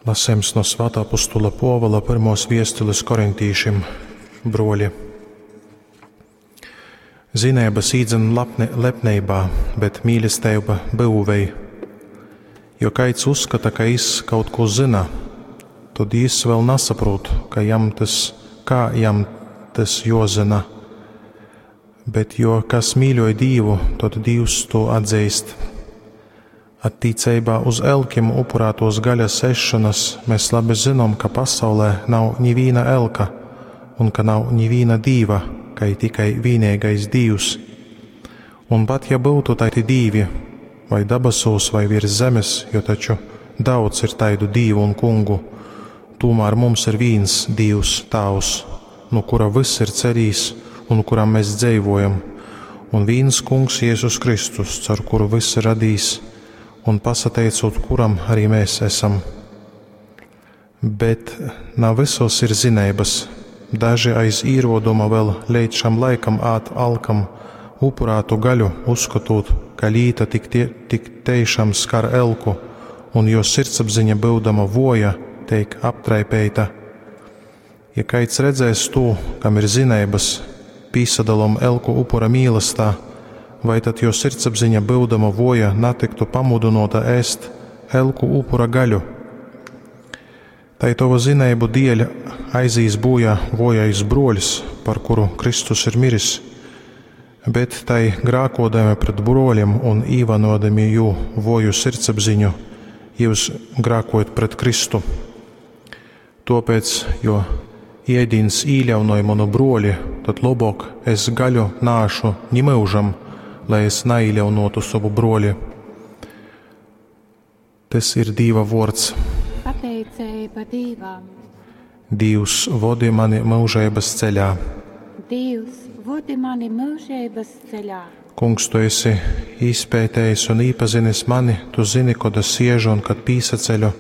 Lasejums no Svātā Apostula Pōvula pyrmōs viestulis korintīšim. Bruoli, zineibys īdzan lapne, lepneibā, bet mīlesteiba byuvej. Jo kaids uzskata, ka jis kaut kū zyna, tod jis vēl nasaprūt, ka jam tys, kā jam tys juozyna. Bet jo kas mīļoj Dīvu, tod Dīvs tū atzeist. Attīceibā uz elkim upurātuos gaļas ēsšonas mēs labi zynom, ka pasaulē nav nivīna elka un ka nav nivīna dīva, kai tikai vīneigais Dīvs. Un pat ja byutu taidi dīvi, vai dabasūs, vai virs zemes, jo taču daudz ir taidu dīvu un kungu, tūmār mums ir vīns Dīvs, Tāvs, nu kura vyss ir celīs un kuram mēs dzeivojam, un vīns Kungs Jēzus Kristus, caur kuru vyss ir radījis, un pasateicūt kuram arī mēs esam. Bet na vysos ir zineibys. Daži aiz īroduma vēl leidz šam laikam ād alkam upurātu gaļu, uzskotūt, ka līta tik, tie, tik teišam skar elku, un jo sirdsapziņa byudama voja, teik aptraipeita. Ja kaids redzēs tū, kam ir zineibys, pīsadalom elku upura mīlestā, vai tad jo sirdsapziņa byudama voja natyktu pamudynōta ēst elku upura gaļu? Tai tova zineibu dieļ aizīs būjā vojais bruoļs, par kuru Kristus ir miris, bet tai grākodami pret bruoļiem un īvanodami jū voju sirdsapziņu, jūs grākojat pret Kristu. Tuopēc, jo iedīns īļaunoj manu bruoli, tad lobok es gaļu nāšu ni myužam, lai es naīļaunotu sovu bruoli. Tys ir Dīva vuords. Pateiceiba Dīvam. Dīvs, vodi mani myužeibys ceļā. Dīvs, vodi mani myužeibys ceļā. Kungs, tu esi izpētējis un īpazinis mani, tu zini, kod es siežu un kad pīsaceļu.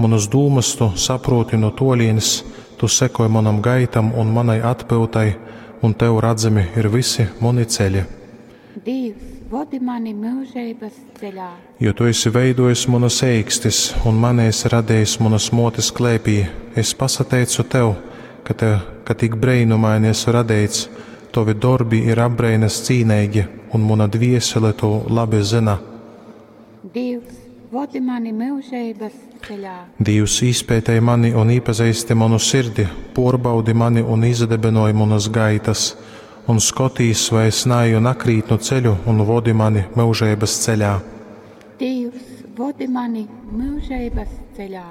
Munus dūmas tu saprūti no tolienes, tu sekoj manam gaitam un manai atpyutai, un tev radzami ir visi muni ceļi. Dīvs, vodi mani myužeibys ceļā. Jo tu esi veidojis munas eikstis un mani esi radījis munas motes klēpī, es pasateicu tev, ka, te, ka tik breinumaini esi radeits, tovi dorbi ir apbreinas cīneigi, un muna dviesele to labi zina. Dīvs, vodi mani myužeibys ceļā. Dīvs izpētēj mani un īpazeisti manu sirdi, porbaudi mani un izdebinoj munas gaitas, un skotīs, vai es naeju nakrītnu ceļu un vodi mani myužeibys ceļā. Dīvs, vodi mani myužeibys ceļā.